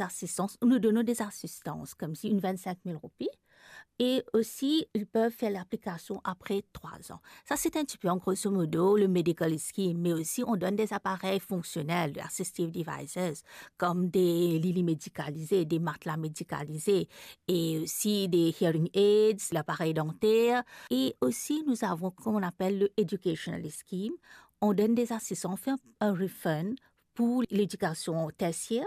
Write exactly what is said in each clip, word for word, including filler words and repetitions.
asistans, nous donnons des assistances, comme si une vingt-cinq mille roupies, et aussi ils peuvent faire l'application après trois ans. Ça, c'est un petit peu en grosso modo le medical scheme, mais aussi on donne des appareils fonctionnels, des assistive devices, comme des lits médicalisés, des matelas médicalisés, et aussi des hearing aids, l'appareil dentaire. Et aussi, nous avons, comme on appelle le educational scheme, on donne des assistances, on fait un, un refund pour l'éducation tertiaire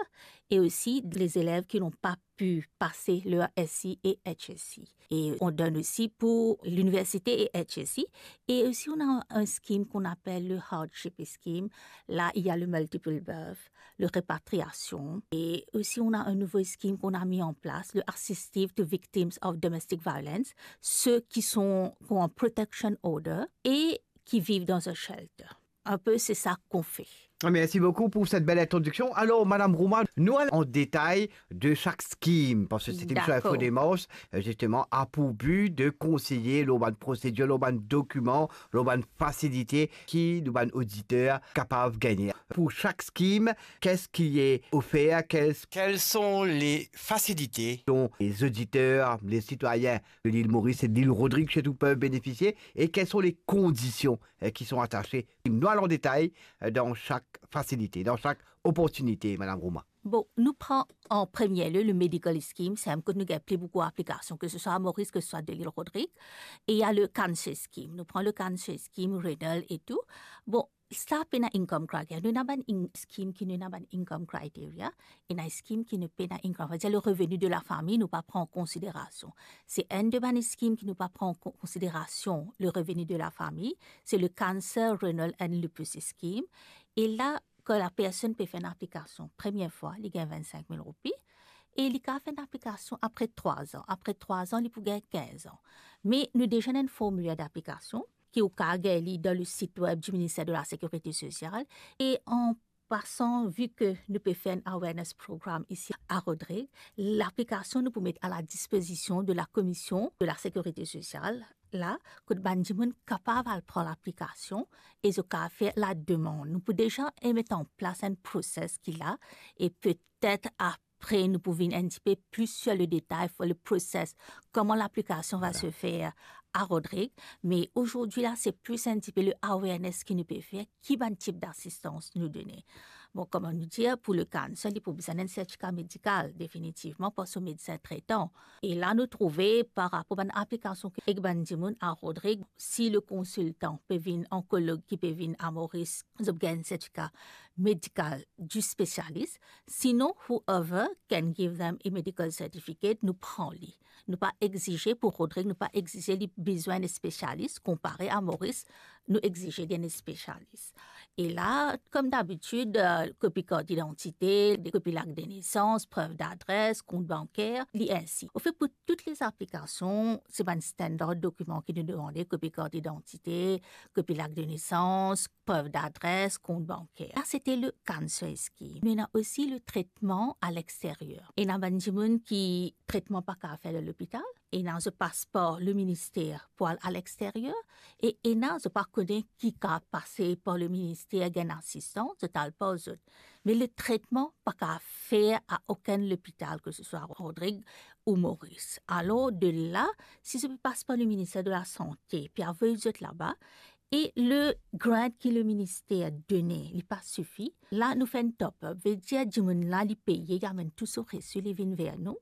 et aussi les élèves qui n'ont pas pu passer leur S I et H S I. Et on donne aussi pour l'université et H S I. Et aussi, on a un scheme qu'on appelle le hardship scheme. Là, il y a le multiple birth, le répatriation. Et aussi, on a un nouveau scheme qu'on a mis en place, le assistive to victims of domestic violence, ceux qui sont, qui ont un protection order et qui vivent dans un shelter. Un peu, c'est ça qu'on fait. Merci beaucoup pour cette belle introduction. Alors, Madame Rouma, nou al an detay de chaque scheme, parce que c'est une D'accord. Info Démarche, euh, justement, a pour but de conseiller lor bann prosedir, lor bann dokiman, lor bann fasilite ki nou bann oditer kapav gagne. Pour chaque scheme, qu'est-ce qui est offert, qu'est-ce Quelles sont les facilités dont les auditeurs, les citoyens de l'île Maurice et de l'île Rodrigue surtout peuvent bénéficier et quelles sont les conditions, euh, qui sont attachées. Nou al an detay, euh, dans chaque facilité, dans chaque opportunité, Madame Rouma. Bon, nou pran an premie lie le medical scheme, se enn kot nou gagn pli boukou aplikasion, ke se swa a Moris, ke se swa de l'île Rodrigue, e il y a le cancer scheme. Nou pran le cancer scheme, renal e tou. Bon, sa pena income criteria. Nou ena bann in-, scheme ki nou ena bann income criteria, ena scheme ki nou pena income, c'est-à-dire le revenu de la famille, nou pa pran an konsiderasion. Se enn de bann scheme ki nou pa pran an kon-, konsiderasion le revenu de la famille, se le cancer, renal and lupus scheme. E la, kan la personn pe fer enn aplikasion premie fwa, li gagn vennsenk mil roupi, e li kapav fer enn aplikasion apre trwa an. Apre trwa an, li pou gagn kinz an. Me nou deza ena enn formiler d'aplikasion ki ou kapav gagn li dan le sit web du Ministère de la Sécurité Sociale. E an pasan, vi ke nou pe fer enn awareness program isi a Rodrig, laplikasion nou pou met a la dispozision de la Commission de la Sécurité Sociale, la, kot bann dimoun kapav al pran laplikasion e zot kapav fer lademann. Nou pou deza met an plas enn proses ki la, e petet apre nou pou vinn enn tipe pli sur le détail, sur le process, comment l'application va Voilà. se faire à Rodrigue. Mais aujourd'hui, là, c'est plus un petit peu le awareness ki nou pe fer, ki bann tip d'asistans nou done. Bon, kouma nou dir, pou le cancer, li pou bizin enn sertifika medikal, definitivman, par so medsin tretan. E la, nou trouve, par rapor bann aplikasion ki ek bann dimoun a Rodrigue, si le konsiltan pe vinn, onkolog ki pe vinn a Moris, zot gagn sertifika medikal du spécialiste. Sinon, whoever can give them a medical certificate, nou pran li. Nou pa exize pou Rodrigue, nou pa exize li bizin enn spesialis, konpare a Moris, nou exize li enn spesialis. E la, comme d'habitude, euh, kopi kart idantite, kopi lakt de nesans, prev d'adres, kont banker, li ensi. Anfet, pou tou le aplikasion, se bann standard dokiman ki nou demande, kopi kart idantite, kopi lakt de nesans, prev d'adres, kont banker. Sa, se te le cancer scheme. Nou ena osi le tretman a lexteryer. Ena bann dimoun ki tretman pa kapav fer dan lopital, ena zot pas par le minister pou al a lexteryer, e ena zot pa kone ki kapav pase par le minister, gagn asistans, zot al par zot. Me le tretman pa kapav fer a okenn lopital, ke se swa Rodrigue ou Moris. Alor, de la, si zot pe pas par le minister de la sante, pe avoy zot laba, e le grant ki le minister done, li pa sifi, la nou fer enn top up, vedir dimoun la li peye, li amenn tou so resi, li vinn ver nou,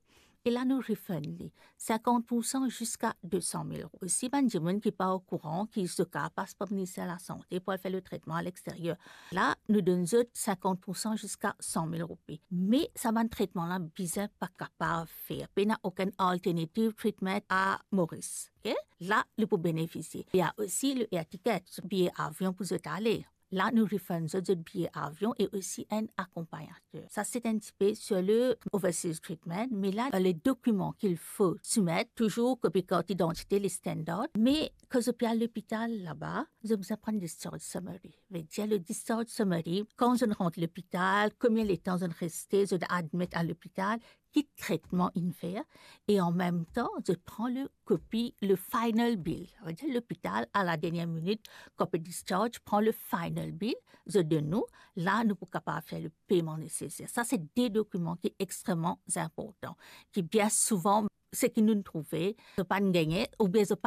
e la nou refund li sinkant pour san ziska de san mil euro. Osi, bann dimoun ki pa okouran ki zot kapav pas par minister lasante pou al fer le tretman a lexteryer, la nou donn zot sinkant pour san ziska san mil roupi. Me sa bann tretman la bizin pa kapav fer, pena okenn alternative treatment a Moris. Ok? La, li pou benefisie. Ena osi le air ticket, biye avion pou zot ale. La, nou refund zot, zot biye avion e osi enn akonpagnater. Sa, se enn tipe sur le overseas treatment, me la, le dokiman ki fo soumet, touzour kopi kart idantite, le standard, me kan zot pe al lopital laba, zot bizin pran discharge summary. Vedir le discharge summary, kan zot inn rant lopital, konbien letan zot inn reste, zot admet a lopital, ki tretman inn fer, e an mem tan, zot pran le kopi, le final bill. Vedir lopital, a la dernie minit, kan pe discharge, pran le final bill, zot donn nou, la nou pou kapav fer le peyman neseser. Sa se de dokiman ki extreman inportan, ki bien souvan, seki nou trouve, zot pa'nn gagne, oubien zot pa'nn